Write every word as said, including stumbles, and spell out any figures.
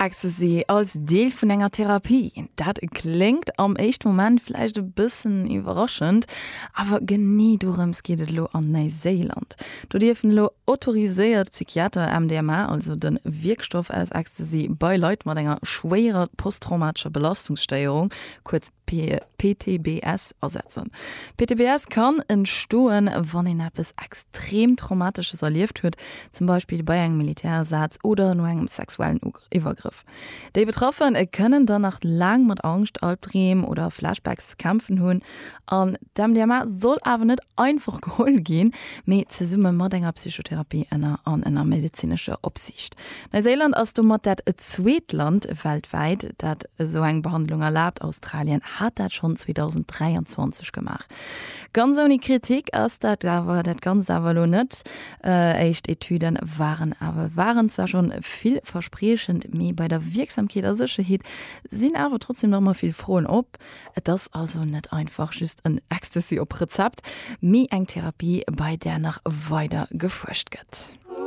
Ecstasy als Deel vun enger Therapie, dat kléngt am éischte Moment vläicht e bëssen iwwerraschend, awer genee dorëms geet et elo an Neiséiland. Do dierfen elo autoriséiert Psychiater M D M A, also de Wierkstoff aus Ecstasy, bei Leit mat enger schwéierer posttraumatescher Belastungsstéierung, kuerz P T B S, asetzen. P T B S kann entstoen, wann een eppes extrem Traumatesches erlieft huet, zum Beispill bei engem Militärsaz oder no engem sexuellen Iwwergrëff. Déi Betraffen kënnen dann nach laang mat Angscht, Albdreem oder Flashbacks ze kämpfen hunn. An d'M D M A soll awer net einfach geholl ginn, mee zesumme mat enger Psychotherapie ënner an ënner medezinescher Opsiicht. Neuseeland ass domat dat zweet Land weltwäit, dat esou eng Behandlung erlaabt. Australien hat dat schonn zweedausenddräianzwanzeg gemaach. Ganz ouni Kritik ass dat awer dat Ganzt awer elo net. Éischt Etüden waren awer waren zwar schonn villverspriechend, mee bei der Wierksamkeet a Sécherheet sinn awer trotzdem nach ëmmer vill Froen op. Et ass also net einfach just en Ecstasy op Rezept, mee eng Therapie, bei där nach weider gefuerscht gëtt.